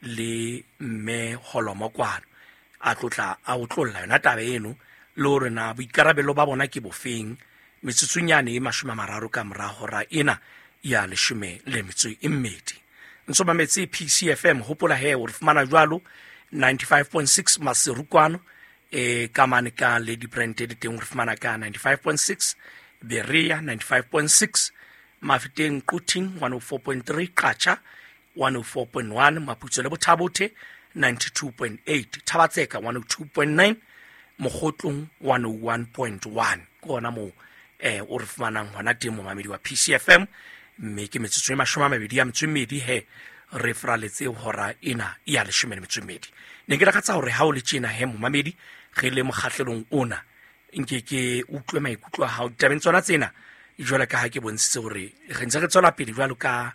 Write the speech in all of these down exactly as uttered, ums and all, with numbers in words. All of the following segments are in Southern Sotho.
Le mme Holomo kwano a tlotla a otlolla yona taba eno le hore na boikarabelo ba bona ke bofeng metsotsonyane e mashome a mararo ka mora hora ena ya leshome le metso e mmedi. Ntso mametse P C F M, hopola he o re fumana jwalo ninety-five point six Maseru kwano, e ka mane ka Lady Brand le teng o re fumana ka ninety-five point six, Berea ninety-five point six, Mafeteng Quthing one oh four point three, Qacha one oh four point one, Maputsoe le Bothabothe ninety-two point eight, Thabatseka one oh two point nine, Mokgotlong one oh one point one. Ke hona moo eh o re fumanang hona teng momamedi wa P C F M, mme ke metsotso e mashome a mabedi a metso e mmedi he re fraletse hora ena ya leshome le metso e mmedi. Ne ke lakatsa hore ha o le tjena he momamedi re le mokgahlelong ona nke ke utlwe maikutlo a hao ditabeng tsona tsena, jwalo ka ha ke bontshitse hore re ntse re tswela pele jwalo ka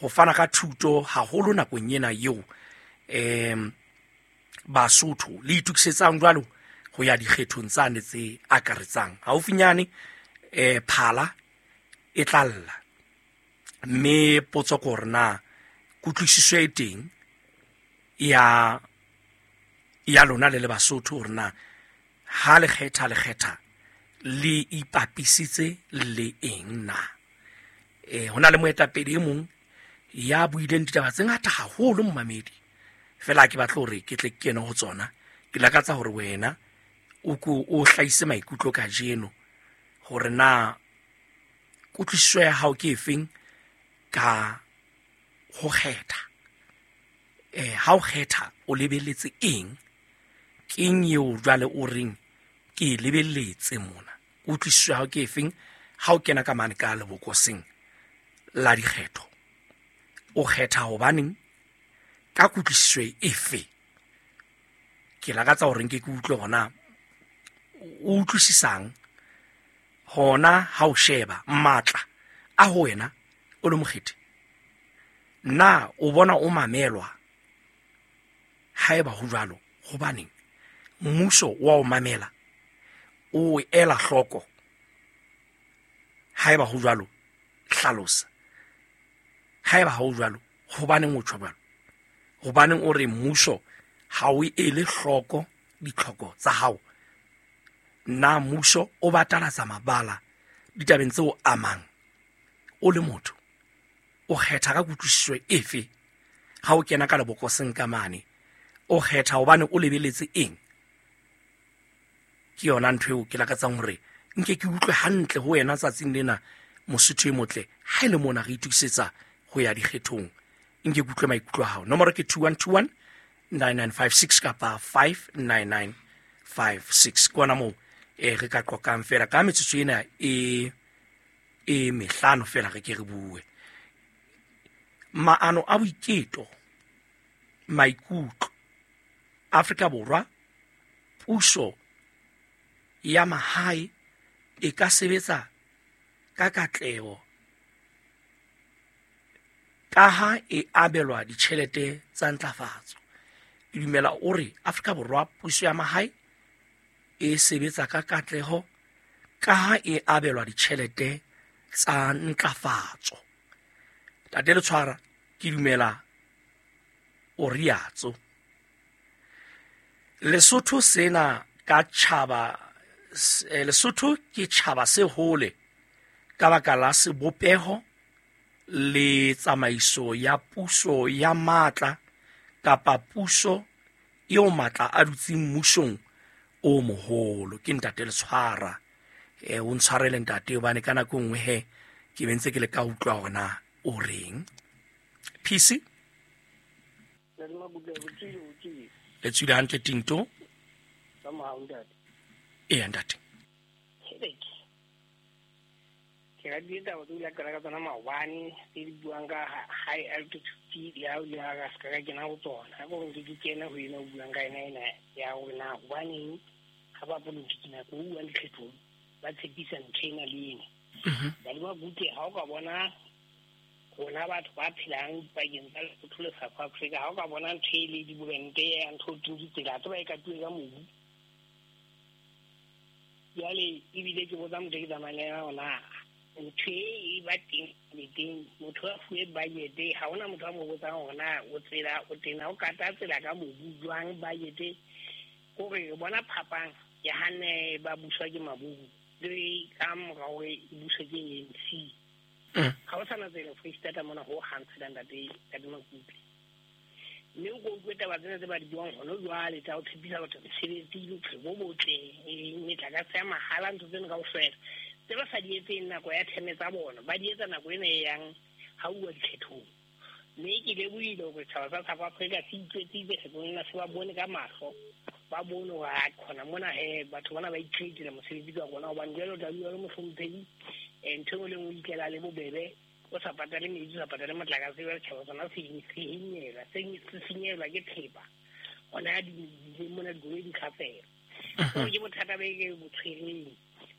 ho fana ka thuto haholo nakong ena eo em Basotho le itokisetsang jwalo ho ya dikgethong tsane tse akaretsang. Haufinyane eh phala e tla lla, mme potso ke hore na kutlwisiso e teng ya ya lona le le Basotho hore na ha le kgetha le kgetha le ipapisitse le eng na. Eh hona le moetapele e mong ya buileng ditaba tse ngata haholo momamedi, fela ke batla hore ke tle ke kene ho tsona. Ke lakatsa hore wena o ko o hlahise maikutlo kajeno hore na kutlwisiso ya hao ke efeng ka ho kgetha. Eh ha o kgetha o lebeletse eng? Keng eo jwale o reng ke e lebeletse mona? Kutlwisiso ya hao ke efeng ha o kena ka mane ka lebokoseng la dikgetho? O kgetha hobaneng? Ka kutlwisiso efe? Ke lakatsa hore nke ke utlwe hona o utlwisisang hona ha o sheba matla a ho wena o le mokgethi. Na o bona o mamelwa? Haeba ho jwalo, hobaneng mmuso wa o mamela, o ela hloko? Haeba ho jwalo, hlalosa. Haeba ha ho jwalo, hobaneng o tjho jwalo? Hobaneng o re mmuso ha o ele hloko ditlhoko tsa hao? Na mmuso o batalatsa mabala ditabeng tseo amang? O le motho o kgetha ka kutlwisiso efe ha o kena ka lebokoseng ka mane? O kgetha hobane o lebeletse eng? Ke yona ntho eo ke lakatsang hore nke ke utlwe hantle ho wena tsatsing lena, Mosotho e motle. Ha e le mona re itokisetsa ho ya dikgethong, nke ke utlwe maikutlo a hao. Nomoro ke two one two one nine nine five six kapa five nine nine five six. Ke hona moo e re ka qoqang fela ka metsotso ena e e mehlano fela re ke re bue. Maano a boiketo, maikutlo Afrika Borwa, puso ya mahae e ka sebetsa ka katleho ka ha e abelwa ditjhelete tsa ntlafatso. Ke dumela o re Afrika Borwa puso ya mahae e sebetsa ka katleho ka ha e abelwa ditjhelete tsa ntlafatso. Tate Letshwara, ke dumela o riatso. Lesotho sena ka tjhaba, Lesotho ke tjhaba se hole ka baka la sebopeho le tsamaiso ya puso ya matla kapa puso eo matla a dutseng mmusong o moholo. Ke ntate Letshwara. Eh o ntshwarele ntate hobane ka nako nngwe he ke bentse ke le ka utlwa hore na o reng. P C Le tswile hantle Tinto? Ee ntate. Ke ratile taba tseo la qala ka tsona maobane tse di buang ka high altitude ya o le ha ka ka kena ho tsona. Ha ko ntse ke kena ho ena o buang ka ena ena ya hore na hobaneng ha ba politiki nako o buang dikgethong ba tshepisa ntho ena le ena. Ba le mabutle ha o ka bona rona batho ba phelang dipakeng tsa Lesotho le South Africa, ha o ka bona ntho e le diborente ya ntho e ditsela tse ba e katuwe ka mobu. Jwale ebile ke botsa motho ke tsamayang le yena hore na Ntho e ba teng le teng motho a fuwe budget ha hona motho a mo botsang hore na o tsela o tena o kata tsela ka mobu jwang budget hore bona phapang ya hane ba buswa ke Mabubu le ka mora hore e buswe ke A N C. Ha o sana tsela Free State mona ho hang tsela ntate ntate Makupe. Mme o utlwe taba tsena tse ba di buang hona jwale tsa ho tshepisa batho mesebetsi, bophelo bo botle, metlakase ya mahala, ntho tseno kaofela tse ba sa di etseng nako ya theme tsa bona, ba di etsa nako ena e yang ha uwa dikhethong. Mme ke lebohile hore setjhaba sa South Africa se itswetsitse kgethong ena, se ba bone ka mahlo, ba bone hore ha khona mona he batho bana ba icreatela mosebetsi ka rona, hobane jwale o tla bua le mohlomphehi ntho e nngwe le nngwe o ikela le bobebe, o sa patale metsi, o sa patale motlakase, jwale setjhaba sona se senyelwa, se senyelwa ke thepa hona di mona dikoloi di kgafela. So ke bothata be ke bo tshwereng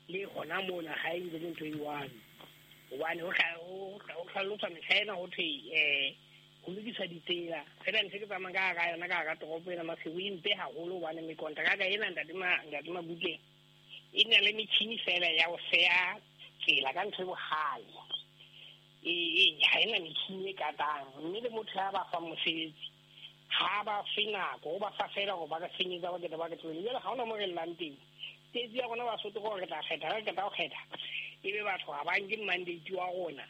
le hona mona ha e ntse le ntho e one, hobane ho hlaloswa mehla ena ho thwe um ho lokiswa ditsela fela ntho ke tsamayang ka hara yona ka hara toropo ena Maseru e mpe haholo, hobane mekontraka ena ntate ntate Mabutle e na le metjhini fela ya ho seya tsela ka ntho e bohale, e ha ena metjhini e katang, mme le motho ya ba fang mosebetsi ha ba fe nako, o ba fa fela hore ba ka senyetsa ba keta ba ke tlohele. Jwale ha hona mo re llang teng, tsietsi ya rona Basotho ke hore re tla kgetha, re qeta ho kgetha ebe batho ha ba nke mandate wa rona.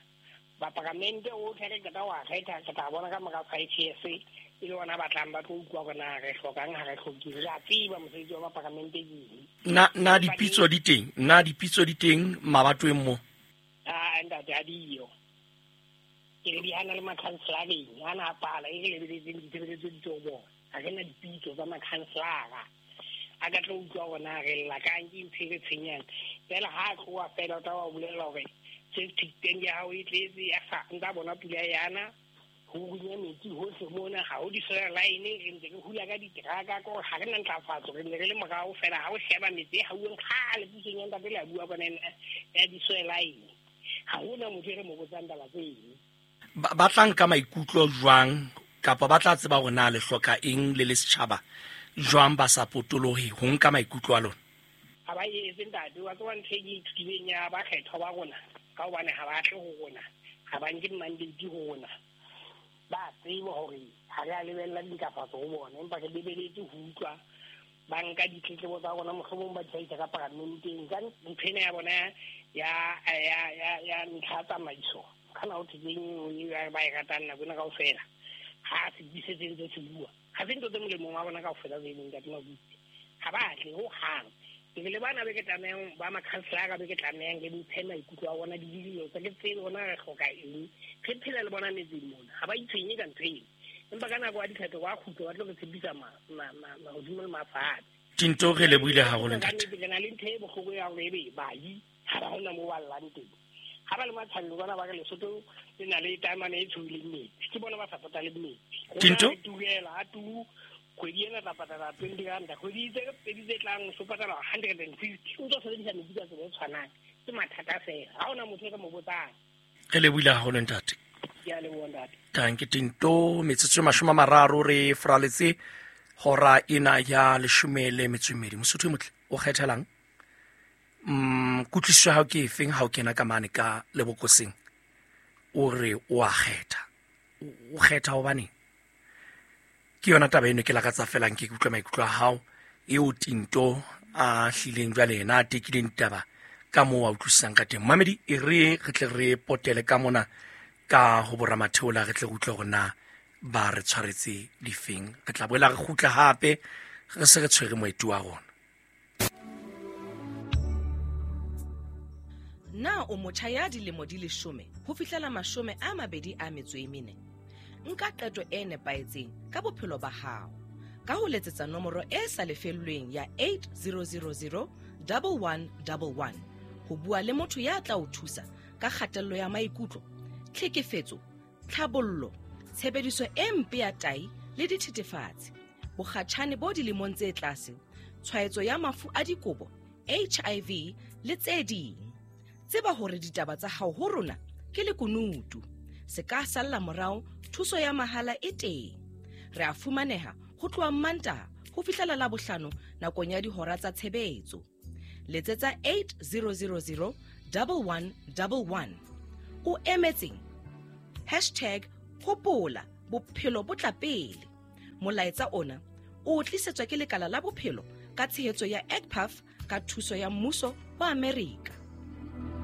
Baparamente otlhe re qeta ho a kgetha, re tla bona ka mora five years e le bona ba tlang ba tlo utlwa hore na re hlokang ha re hloke. Re a tseba mosebetsi wa baparamente ke eng. Na na dipitso di teng? Na dipitso di teng mabatoweng mo? Ah, ntate ha diyo. Ke re di hana le makhanselareng, ha na pala e re lebeletseng ditshebeletso di tlo bona. Ha re na dipitso tsa makhanselara a ka tlo utlwa hore na re lla kang, ke ntho e re tshwenyang. Fela ha a tloha fela o tla wa bolella hore septic tank ya hao e tletse, a sa ntsa bona pula yana, ho runya metsi hohle mona, ha ho di-solar line, re ntse re hula ka diteraka, ke hore ha re na ntlafatso, re ntse re le morao fela. Ha o sheba metsi e hauweng kgale pusong ya ntate le a bua bona ya di-solar line, ha hona motho e re mo botsang taba tseno. Ba tla nka maikutlo jwang, kapa ba tla tseba hore na le hloka eng le le setjhaba jwang ba sa potolohe ho nka maikutlo a lona? Ha ba etse ntate, wa tseba ntho e ke ithutileng ya bakgethwa ba rona, ka hobane ha ba tle ho rona, ha ba nke mandate ho rona, ba tseba hore ha re a lebella dintlafatso ho bona, empa re lebeletse ho utlwa ba nka ditletlebo tsa rona, mohlomong ba di hlahisa ka paramenteng ka ntho ena ya bona ya ya ya ya ntlha ya tsamaiso, kana ho thwe keng ba e ratang nako ena kaofela, ha se se ntse se bua, ha se ntho tse molemong wa bona kaofela tse leng ntate Mabutle, ha ba tle ho hang. Ke le bana be ke tlamehang ba makhanselara be ke tlamehang ke mphe maikutlo a bona, didilo tsa ke tsebe bona re hloka eng, re phela le bona metseng mona, ha ba itshwenye ka ntho eno, empa ka nako ya dikgetho ba kgutla ba tlo re tshepisa mahodimo le mafatshe. Tinto re lebohile haholo ntate. Ke na le ntho e bohloko ya hore ebe bayi ha ba hona moo ba llang teng, ha ba le Matshano bona ba re Lesotho le na le taemane e tshohileng metsi, ke bona ba sa pataleng metsi. Tinto turela ha tu kgwedi ena tla patala twenty rand, kgwedi tse pedi tse tlang o patala hundred and fifty, o tlo sebedisa metsi ka tsela e tshwanang. Ke mathata fela, ha hona motho e re mo botsang. Re lebohile haholo ntate. Ke a leboha ntate. Tanke Tinto, metsotso e mashome a mararo re fraletse hora ena ya leshome le metso e mmedi. Mosotho e motle o kgethelang? Mm, kutlwisiso ya hao ke efeng ha o kena ka mane ka lebokoseng? O re o a kgetha. O kgetha hobaneng? Ke yona taba eno ke lakatsa feela nke ke utlwe maikutlo a hao eo Tinto a hlileng jwale yena a tekileng ditaba ka moo a utlwisisang ka teng. Mamedi, e re re tle re potele ka mona ka ho boramatheola, re tle re utlwe hore na ba re tshwaretse difeng. Re tla boela re kgutla hape re se re tshwere moeti wa rona. Na o motjha ya dilemo di leshome ho fihlela mashome a mabedi a metso e mene? Nka qeto e nepahetseng ka bophelo ba hao ka ho letsetsa nomoro e sa lefellweng ya eight zero zero zero one one one one ho bua le motho ya tla o thusa ka kgatello ya maikutlo, tlhekefetso, tlhabollo, tshebediso e mpe ya tai le dithethefatsi, bokgatjhane bo dilemong tse tlase, tshwaetso ya mafu a dikobo, H I V le tse ding. Tseba hore ditaba tsa hao ho rona ke lekunutu. Se ka salla morao, thuso ya mahala e teng. Re a fumaneha ho tloha Mantaha ho fihlela Labohlano nakong ya dihora tsa tshebetso. Letsetsa eight zero zero zero double one double one. O emetseng? Hashtag hopola bophelo bo tla pele. Molaetsa ona o tlisetswa ke lekala la bophelo ka tshehetso ya E G P A F ka thuso ya mmuso wa Amerika.